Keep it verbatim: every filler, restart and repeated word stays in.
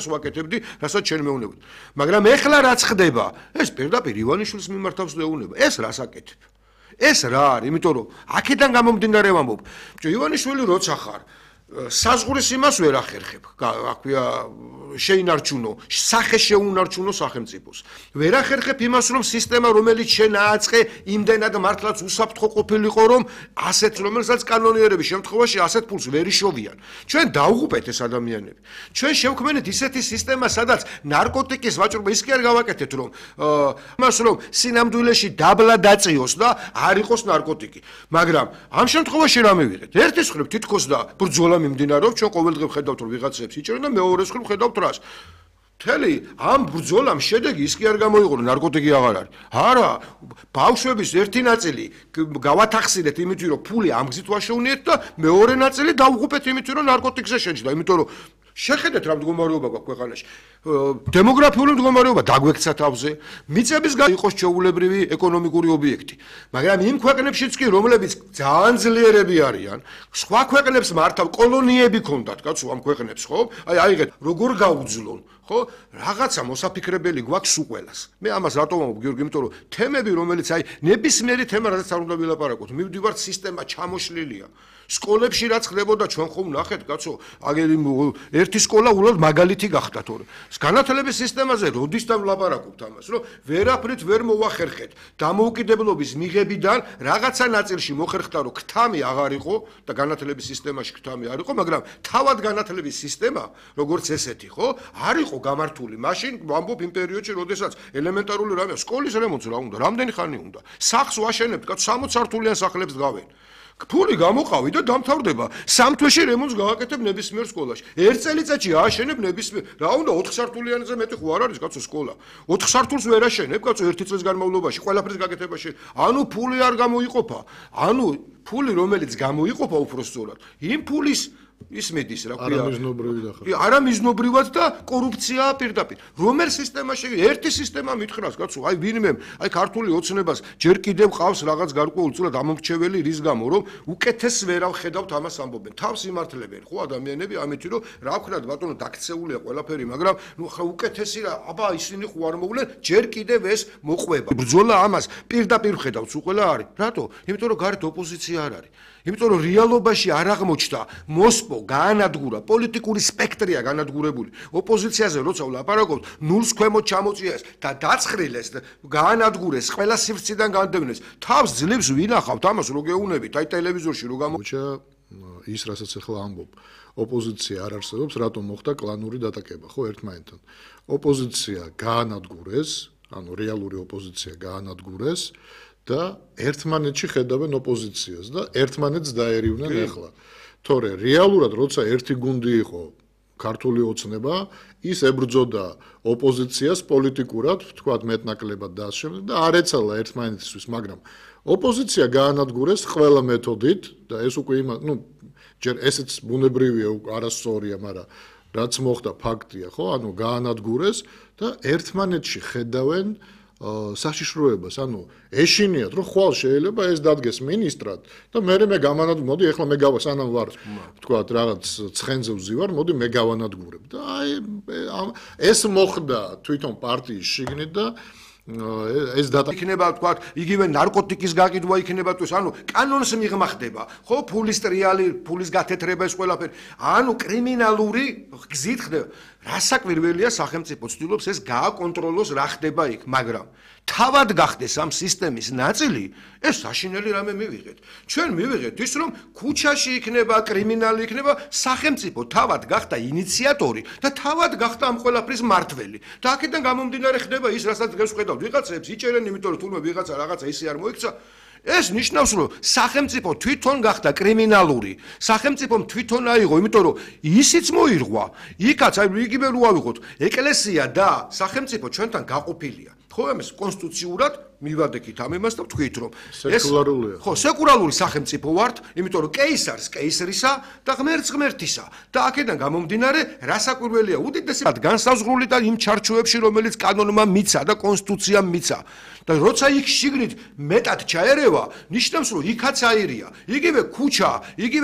ვაკეთებდი, რასაც ჩვენ მეუბნებოდი. მაგრამ ეხლა რაც ხდება, ეს პირდაპირ ივანიშვილის მიმართავს ეუბნება. ეს რას აკეთებ? ეს რა არის? იმიტომ რომ აქედან გამომდინარე ვამბობ. ივანიშვილი როცა ხარ, საზღურის იმას ვერ ახერხებ. რა ქვია, შეინარჩუნო, სახე შეუნარჩუნო სახელმწიფოს. ვერ ახერხებ იმას, რომ სისტემა, რომელიც შენ ააწყე, იმდენად მართლაც უსაფრთხო ყოფილიყო, რომ ასეთ, რომელსაც კანონიერების შემთხვევაში ასეთ ფულს ვერ იშოვიან. ჩვენ დავღუპეთ ეს ადამიანები. ჩვენ შევქმნით ისეთი სისტემა, სადაც ნარკოტიკის ვაჭრობა ის კი არ გავაკეთეთ, რომ იმას, რომ სინამდვილეში დაბლა დაწიოს და არ იყოს ნარკოტიკი. მაგრამ ამ შემთხვევაში რა მივიღეთ? ერთის მხრივ თითქოს და ბრძოლა მიმდინარეობს, ჩვენ ყოველდღე ვხედავთ, რომ ვიღაცებს იჭერენ და მეორეს მხრივ ვხედავთ რას. მთელი ამ ბრძოლამ შედეგი ის კი არ გამოიღო, რომ ნარკოტიკი აღარ არის. არა, ბავშვების ერთი ნაწილი გავათახსინეთ იმით, რომ ფული ამ გზით ვაშოვნიეთ და მეორე ნაწილი დავღუპეთ იმით, რომ ნარკოტიკზე შეჭდა, იმიტომ რომ შეხედეთ რა მდგომარეობა გვაქვს ქვეყანაში. დემოგრაფიული მდგომარეობა დაგვექცა თავზე, მიწების იყოს ჩვეულებრივი ეკონომიკური ობიექტი. მაგრამ იმ ქვეყნებშიც კი, რომლებიც ძალიან ძლიერები არიან, სხვა ქვეყნებს მართავ კოლონიები ქონდათ, კაცო, ამ ქვეყნებს, ხო? აი, აიღეთ, როგორ გაუძლონ, ხო? რაღაცა მოსაფიქრებელი გვაქვს უყველას. მე ამას რატომ ვამბობ, გიორგი, იმიტომ რომ თემები, რომელიც აი ნებისმიერი თემა, რაზეც არ უნდა ვილაპარაკოთ, მივდივართ სისტემა ჩამოშლილია. სკოლებში რაც ხდებოდა ჩვენ ხომ ნახეთ, კაცო, აგერი ერთი სკოლა უბრალოდ მაგალითი გახდა თორე. განათლების სისტემაზე როდის დავლაპარაკობთ ამას, რომ ვერაფრით ვერ მოვახერხეთ. დამოუკიდებლობის მიღებიდან რაღაცა ნაწილში მოხერხდა, რომ ქთამი აღარ იყო და განათლების სისტემაში ქთამი არ იყო, მაგრამ თავად განათლების სისტემა, როგორც ესეთი, ხო, არ იყო გამართული. მაშინ ვამბობ იმ პერიოდში, როდესაც ელემენტარული რამე, სკოლის რემონტს რა უნდა, რამდენი ხანი უნდა. სახლს ვაშენებთ, კაცო, სამოცი სართულიან სახლებს დგავენ. ფული გამოყავი და დამთავრდება. სამ თვეში რემონტს გავაკეთებ ნებისმიერ სკოლაში. ერთ წელიწადში ააშენებ ნებისმიერ. რა უნდა ოთხ სართულიანზე მეტი ხო არ არის, კაცო, სკოლა. ოთხ სართულს ვერ აშენებ, კაცო, ერთი წლის განმავლობაში, ყველაფრის გაკეთებაში. ანუ ფული არ გამოიყოფა. ანუ ფული, რომელიც გამოიყოფა უпростоრად, იმ ფულის ის მედის რა ქვია. არა მიზნობრივად და კორუფციაა პირდაპირ. რომელ სისტემაში ერთი სისტემა მითხრას, კაცო, აი ვინმე, აი ქართული ოცნებას ჯერ კიდევ ყავს რაღაც გარკვეულწილად ამომრჩეველი რის გამო, რომ უკეთეს ვერ ავხედავთ ამას ამბობენ. თავს იმართლებენ, ხო, ადამიანები ამით, რომ რა ვქნათ, ბატონო, დაქცეულია ყველაფერი, მაგრამ ნუ ხა უკეთესი რა, აბა ისინი ხო არ მოვლენ, ჯერ კიდევ ეს მოყვება. ბრძოლა ამას პირდაპირ ხედავს უყველა არის. რატო? იმიტომ რომ გარეთ ოპოზიცია არ არის. იმიტომ რომ რეალობაში არ აღმოჩნდა მოსპო გაანადგურა პოლიტიკური სპექტრია განადგურებული ოპოზიციაზე როცა ვლაპარაკობთ ნულს ქვემოთ ჩამოწიეს და დაცხრილეს გაანადგურეს ყველა სივრციდან განდევნეს თავს ძლივს ვინახავთ ამას რო გეუნებით აი ტელევიზორში რო გამოჩა ის რასაც ახლა ამბობ ოპოზიცია არ არსებობს რატომ მოხდა კლანური დატაკება ხო ერთმანეთთან ოპოზიცია გაანადგურეს ანუ რეალური ოპოზიცია გაანადგურეს და ერთმანეთში ხედავენ ოპოზიციას და ერთმანეთს დაერივნენ ახლა. თორე რეალურად როცა ერთი გუნდი იყო ქართული ოცნება, ის ებრძოდა ოპოზიციას პოლიტიკურად, თქვათ მეტნაკლებად და ასე და არ ეცალა ერთმანეთისთვის, მაგრამ ოპოზიცია გაანადგურეს ყველა მეთოდით და ეს უკვე იმა, ну, ჯერ ესეც ბუნებრივია, არასწორია, მაგრამ რაც მოხდა ფაქტია, ხო? ანუ გაანადგურეს და ერთმანეთში ხედავენ საშიშროებას, ანუ ეშინიათ, რომ ხვალ შეიძლება ეს დადგეს მინისტრად და მე მე გამანადგურებ, მოდი ახლა მე გავა სანამ ვარ, თქვათ, რაღაც ცხენზე ვზივარ, მოდი მე გავანადგურებ და აი ეს მოხდა თვითონ პარტიის შიგნით და ეს დატა იქნება თქვათ იგივე ნარკოტიკის გაყიდვა იქნება თუ ანუ კანონს მიღმახდება ხო ფულის ტრიალი ფულის გათეთრება ეს ყველაფერი ანუ კრიმინალური გზით ხდება რასაკვირველია სახელმწიფო ცდილობს ეს გააკონტროლოს რა ხდება იქ მაგრამ თავად გახდეს ამ სისტემის ნაწილი ეს საშინელი რამე მივიღეთ ჩვენ მივიღეთ ის რომ ქუჩაში იქნება კრიმინალი იქნება სახელმწიფო თავად გახდა ინიციატორი და თავად გახდა ამ ყველაფრის მართველი და აქედან გამომდინარე ხდება ის რასაც დღეს ვხედავთ ვიღაცებს იჭერენ იმიტომ რომ თუნდაც ვიღაცა რაღაცა ისე არ მოიქცა ეს ნიშნავს რომ სახელმწიფო თვითონ გახდა კრიმინალური სახელმწიფომ თვითონ აიღო იმიტომ რომ ისიც მოირღვა იქაც აი იგივე რო ავიღოთ ეკლესია და სახელმწიფო ჩვენთან გაყოფილია ხო ამას კონსტიტუციურად მივადექით ამ იმას და ვთქვით რომ ეს ხო სეკულარული სახელმწიფო ვართ იმიტომ რომ კეისარს კეისრისა და ღმერთს ღმერთისა და აქედან გამომდინარე რასაკვირველია უდიდესად განსაზღვრული და იმ ჩარჩოებში რომელიც კანონმა მიცა და კონსტიტუციამ მიცა და როცა იქ შიგნით მეტად ჩაერევა ნიშნავს რომ იქაც აირია იგივე ქუჩა იგივე